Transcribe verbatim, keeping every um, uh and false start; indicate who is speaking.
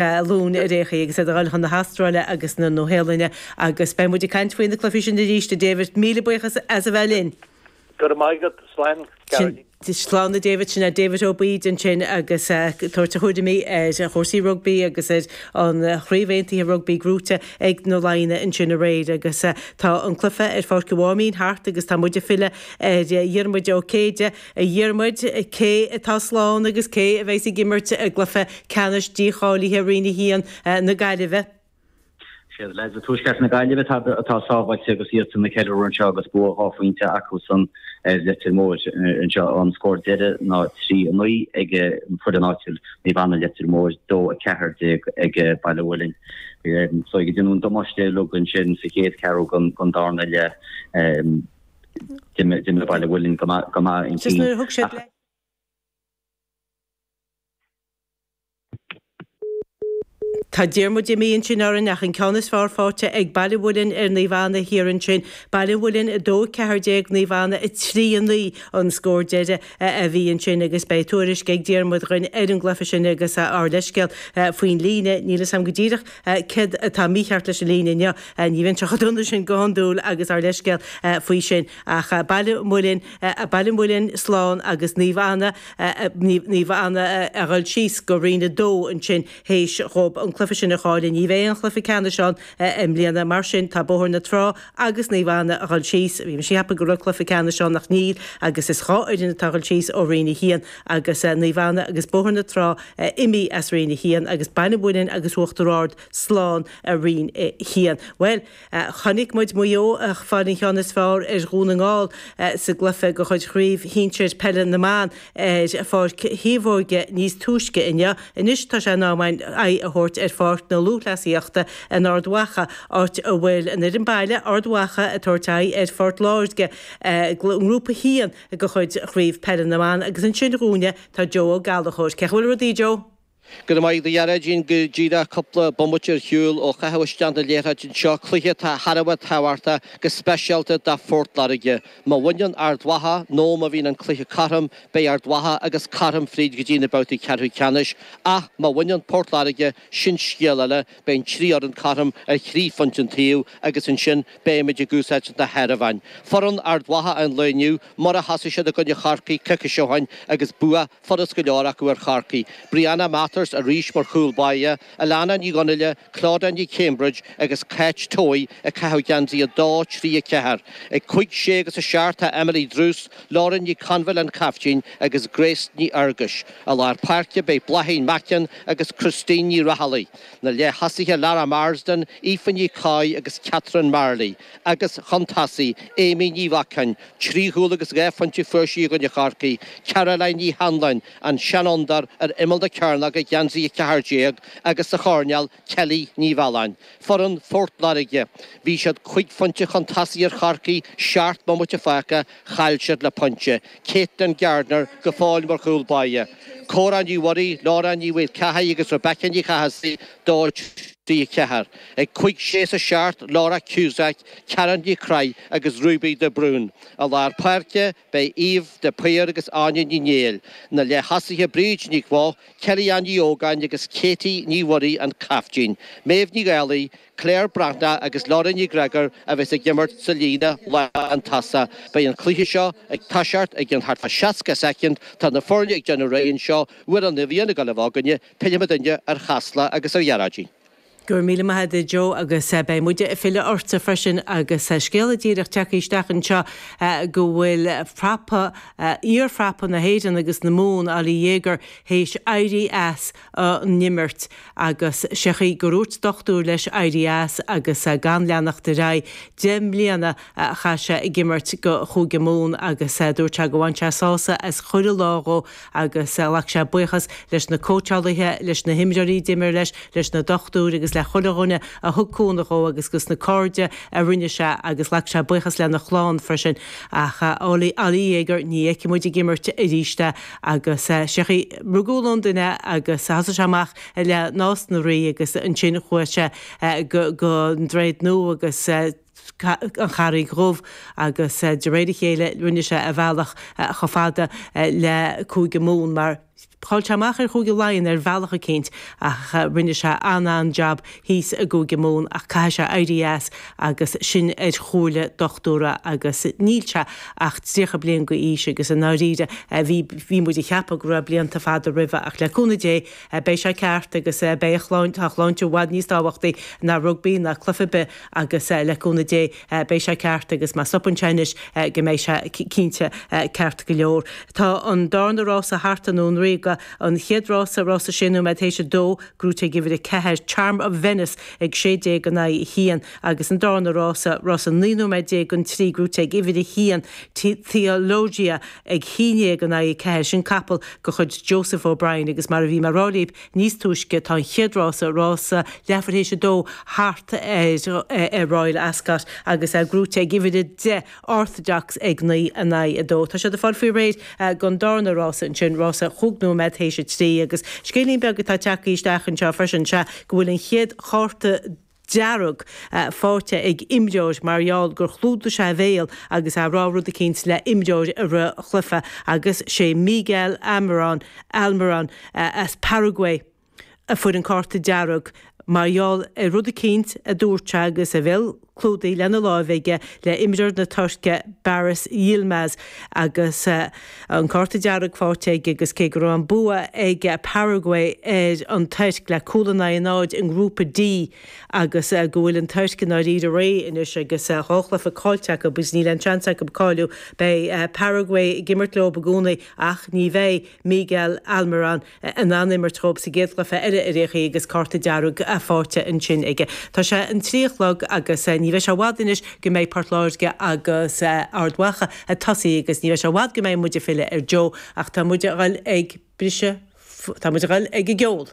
Speaker 1: Luan ar aon chaoi agus iad ag dul chun na hAstráile agus na Nua-Shéalainne agus beidh muid ag caint faoi na cluichí sin arís, a David. Míle buíochas as a bheith linn.
Speaker 2: Go raibh maith agat. Slán, Gearóidín.
Speaker 1: Slán, a David. Sin é David Ó Baoid ansin agus ag tabhairt a thuairimí ar chúrsaí rugbaí agus ar an Chraobh Aontaithe Rugbaí gnóite ag na Laighnigh ansin aréir agus tá an cluiche ar Pháirc an Mháimín thart agus tá muid ag filleadh ar Dhiarmuid Ó Céide. A Dhiarmuid, cé atá slán agus cé a bheas ag imirt i gcluiche ceannais dícháilithe Roinn a haon na Gaillimhe?
Speaker 3: Siad leaids Tuaisceart na Gaillimhe atá sábháilte agus iadsan ag ceiliúradh anseo agus bua dhá phointe acusan ar Leitir Móir anseo. An scór deiridh ná trí a naoi ag an foireann áitiúil Naomh Anna Leitir Móir, dó a ceathair déag ag Baile Mhuilinn. So ag déanamh an damáiste uilig ansin sa chéad cheathrú den darna leath. D'imir Baile Mhuilinn go maith ansin.
Speaker 1: Tá Diarmuid imithe ansin orainn ach an ceann is fearr faighte ag Baile Mhuilinn ar Naomh Anna thiar ansin. Baile Mhuilinn a dó a ceathair déag, Naomh Anna a trí a naoi an scór deiridh a bhí ansin agus beidh tuairisc ag Diarmuid dhúinn ar an gcluiche sin agus ár leithscéal faoin líne. Níl fhios agam go díreach céard atá mícheart leis an líne inniu. Ní bhíonn sé chomh dona sin go hiondúil agus ár leithscéal faoi sin. Ach Baile Mhuilinn, Baile Mhuilinn slán agus Naomh Anna, Naomh Anna a dhul síos go Roinn a dó ansin théis dhóibh an cluiche sin a chailleadh. Ní bheidh aon chluiche ceannais ann i mbliana, mar sin tá Bóthar na Trá agus Naomh Anna a dhul síos. Bhí mise ag ceapadh go raibh cluiche ceannais ann ach níl agus is dhá fhoireann atá a dhul síos ó Roinn a haon agus Naomh Anna agus Bóthar na Trá imithe as Roinn a haon agus Baile Mhuilinn agus Uachtar Ard slán i Roinn a haon. Bhuel, chonaic muid Maigh Eo ag fáil an cheann is fearr ar Dhún na nGall sa gcluiche de chuid Chraobh Shinsir Peile na mBan ar Pháirc Thaobhóige níos túisce inniu. Anois tá sé in am againn aghaidh a thabhairt ar Pháirc na Lúthchleasaíochta in Ard Mhacha, áit a bhfuil an fhoireann baile, Ard Mhacha, ag tabhairt aghaidh ar Phort Láirge i nGrúpa a haon de chuid Chraobh Peile na mBan agus ansin dhúinne tá Joe Ó Gallchóir. Cén chaoi a bhfuil rudaí, Joe?
Speaker 4: Go raibh maith agat, a Ghearóidín. Go díreach cúpla bomaite ar shiúl ó chaitheamh isteach na liathróide anseo, cluiche atá thar a bheith tábhachtach, go speisialta do Phort Láirge. Má bhaineann Ard Mhacha nó má bhíonn an cluiche cothrom, beidh Ard Mhacha agus cothrom fríd go dtí na babhtaí ceathrú ceannais, ach má bhaineann Port Láirge, sin scéal eile, beidh an trí fhoireann cothrom ar thrí phointe an taobh agus ansin beimid ag úsáid na háireamháin. Foireann Ard Mhacha an lae inniu, mar a thosaigh siad i gcoinne Chorcaí coicís ó shin agus bua furast go leor acu ar Chorcaigh. Brianna Mathers arís mar chúl báire, Alana Ní Dhonnaile, Clodagh Ní Cambridge agus Cáit Towey ag caitheamh geansaí a dó, trí, a ceathair. Ag cúig, sé agus a seacht tá Emily Druce, Lauren Ní Conbhaill an caiftín agus Grace Ní Fhearghuis. I lár páirce beidh Bláithín Mackin agus Christine Ní Raghallaigh. Na leath-thosaithe Lara Marsden, Aoife Ní Choy agus Catherine Marley agus chun tosaigh, Amy Ní Mhacáin, trí chúl agus dhá phointe fuair sí i gcoinne Chorcaí, Caroline Ní Hanlon, an seanfhondúir ar imeall na cearnóige, geansaí a ceathair déag, agus sa choirnéal, Kelly Ní Mhealláin. Foireann Phort Láirge, bhí siad cúig phointe chun tosaigh ar Chorcaigh, seacht mbomaite fágtha, chaill siad le pointe. Caitlin Gardner go fóill mar chúl báire. Cora Ní Mhuirí, Laura Ní Mhaolchathaigh agus Rebecca Ní Chathasaigh, dó, trí, a ceathair. Ag cúig, sé is a seacht, Laura Cusack, Karen Ní Chroich agus Ruby de Brún. I lár páirce, beidh Eve de Paor agus Áine Ní Néill. Na leath-thosaithe Bríd Nic Bhoth, Kelly-Ann Ní Ógáin agus Katie Ní Mhuirí an caiftín. Méabh Ní Dhálaigh, Claire Breathnach agus Laura Ní Ghreagair a bheas ag imirt sa líne lántosach. Beidh an cluiche seo ag toiseacht i gcionn thart fá seasca soicind. Tá na foirne ag déanamh réidh anseo. Uair an bhíonn ag dul a bheith againne, pillfidh muidinne ar Chasla agus ar Ghearóidín.
Speaker 1: Go raibh míle maith agat a Joe agus beidh muide ag filleadh ortsa freisin agus scéala díreach tagtha isteach anseo go bhfuil prapa, iar-phrapa na hÉireann agus na Mumhan, Ollie Jager, théis éirí as an imirt agus sé chaoi gur dhúirt dochtúir leis éirí as agus gan leanacht ar aghaidh. Deich mbliana a chaith sé ag imirt go Chúige Mumhan agus dúirt sé go bhain sé sásamh as chuile lá dhó agus ghlac sé buíochas leis na cóitseálaithe, leis na himreoirí a d'imir leis, leis na dochtúirí agus le chuile dhuine a thug cúnamh dhó agus dos na cairde a rinne sé agus ghlac sé buíochas lena chlann freisin. Ach Ollie Jager, ní fheicfidh muid ag imirt arís é agus sé chaoi, rugadh i Londain é agus thosaigh sé amach le Nás na Rí agus ansin chuaigh sé go go an Droichead Nua agus an Charraig Dhubh agus de réir a chéile rinne sé a bhealach chomh fada le Cúige Mumhan mar Chaill sé amach ar Chúige Laighean ar bhealach eicínt ach rinne sé an-an-jab thíos i gCúige Mumhan ach caithfidh sé éirí as agus sin ar chomhairle dochtúra agus níl sé ach tríocha bliain go aois agus i ndáiríre bhí bhí muid ag ceapadh go raibh blianta fada roimhe ach le cúnamh Dé beidh sé ceart agus beidh a shláinte tá a shláinte i bhfad níos tábhachtaí ná rugbaí ná cluiche ar bith agus le cúnamh Dé beidh sé ceart agus má stopann sé anois go mbeidh sé cinnte ceart go leor. Tá an darna rása thart i nDún Ríoga, an chéad rása, rása sé nóiméad théis a dó, gnóthaithe ag uimhir a ceathair, Charm of Venice ag sé déag in aghaidh a haon agus an darna rása, rása naoi nóiméad déag don trí, gnóthaithe ag uimhir a haon, Theologia ag haon déag in aghaidh a ceathair. Sin capall de chuid Joseph O'Brien agus mar a bhí mé a rá libh níos túisce tá an chéad rása, rása leathuair théis a dó, thart ar Royal Ascot agus é gnóthaithe ag uimhir a deich, Orthodox ag naoi in aghaidh a dó. Tá siad ag fáil faoi réir don darna rása ansin, rása chúig nóiméad théis a trí agus scéilín beag atá tagtha isteach anseo freisin, sea go bhfuil an chéad chárta dearg faighte ag imreoir mar gheall gur chlúdaigh sé a bhéal agus é ag rá rud eicínt le imreoir i rith an chluiche agus sé Miguel Almiron Almiron as Paraguay a fuair an cárta dearg mar gheall ar rud eicínt a dúirt sé agus a bhéal clúdaithe lena láimh aige le imreoir na Tuirce Baris Yilmaz agus an cárta dearg faighte aige agus cé go raibh an bua ag Paraguay ar an Tuirc le cúl in aghaidh a náid i nGrúpa D agus go bhfuil an Tuirc i ndáiríre réidh anois agus dhá chluiche caillte acu agus níl aon seans acu cáiliú. Beidh Paraguay ag imirt leo i gcónaí ach ní bheidh Miguel Almiron in ann imirt dhóibh sa gcéad chluiche eile ar aon chaoi agus cárta dearg faighte ansin aige. Tá sé an trí a chlog agus ní bheidh sé i bhfad anois go mbeidh Port Láirge agus Ard Mhacha ag tosaí agus ní bheidh sé i bhfad go mbeidh muid ag filleadh ar Joe ach tá muid a dhul ag briseadh, tá muid a dhul ag an gceol.